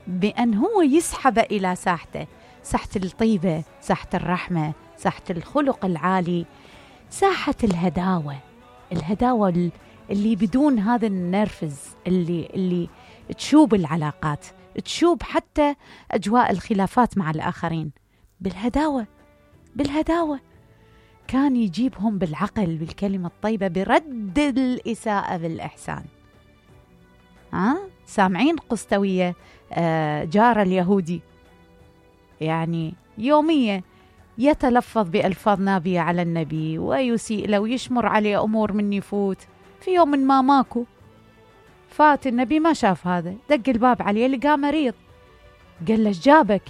بأن هو يسحب إلى ساحته، ساحة الطيبة، ساحة الرحمة، ساحة الخلق العالي، ساحة الهداوة اللي بدون هذا النرفز اللي تشوب العلاقات، تشوب حتى أجواء الخلافات مع الآخرين. بالهداوة كان يجيبهم بالعقل، بالكلمة الطيبة، برد الإساءة بالإحسان. سامعين قسطوية جار اليهودي؟ يعني يوميا يتلفظ بألفاظ نابية على النبي ويسيء له ويشمر عليه أمور من يفوت. في يوم ما ماكو، فات النبي ما شاف هذا، دق الباب عليه لقاه مريض، قال له جابك؟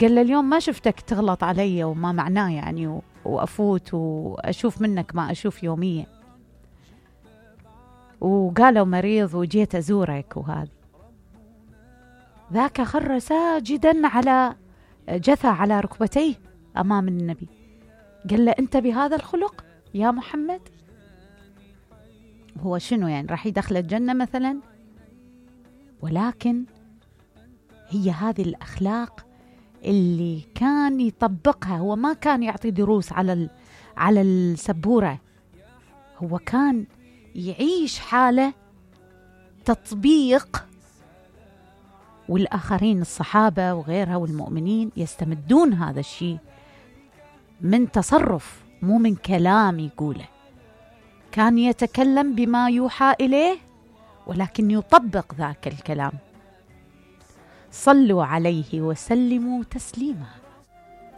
قال له اليوم ما شفتك تغلط علي، وما معناه يعني، وأفوت وأشوف منك ما أشوف يوميا، وقالوا مريض وجيت أزورك. وهذا ذاك خر ساجدا على جثى على ركبتيه أمام النبي، قال له أنت بهذا الخلق يا محمد؟ هو شنو يعني راح يدخل الجنة مثلا؟ ولكن هي هذه الأخلاق اللي كان يطبقها. هو ما كان يعطي دروس على السبورة، هو كان يعيش حالة تطبيق، والآخرين الصحابة وغيرها والمؤمنين يستمدون هذا الشيء من تصرف، مو من كلام يقوله. كان يتكلم بما يوحى إليه ولكن يطبق ذاك الكلام. صلوا عليه وسلموا تسليما.